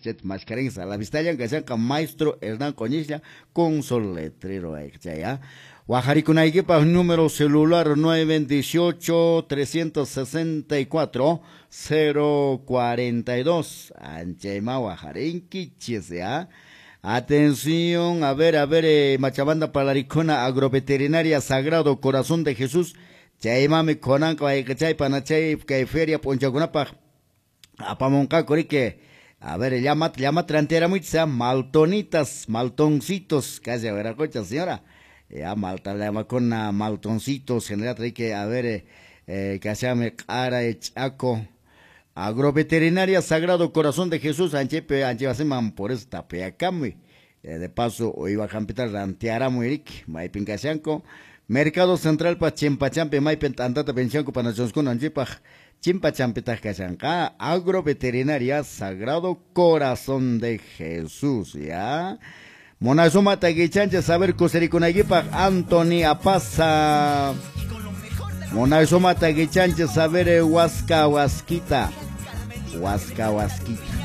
Chayta maskarinki a la vistallan kashanqa maestro Hernán Qoñislla con su letrero chay, ¿ah? Wajarikunaykipaq número celular 918 364 042. Anchayma wajarinkichis, ¿ya? Atención, a ver, Machabanda Palaricona, Agroveterinaria Sagrado Corazón de Jesús. Chaymami kunanqa wayqichay panachay kay feria p'unchawkunapaq apamunqaku riki. A ver, llamat, llamat rantiaramuychis, maltonitas, maltoncitos, casi a ver, señora. Ya, malta llamakuna, maltoncitos, general, riki, a ver, kashami q'ara ch'aco. Agroveterinaria Sagrado Corazón de Jesús, anchepe, anchebasiman, por eso tapiakamuy. De paso, iba jampita rantiaramuy, riki, maypin kashanko. Mercado Central pa Chimpachampi, maypin tantata penchanko panachonskuna anchepaj. Chimpachampitaj kashanqa. Agroveterinaria Sagrado Corazón de Jesús, ya. Monazuma taguichanche saber kuserikunaypaj Anthony Apaza. Monazuma taguichanche saber huasca huasquita. Huasca huasquita.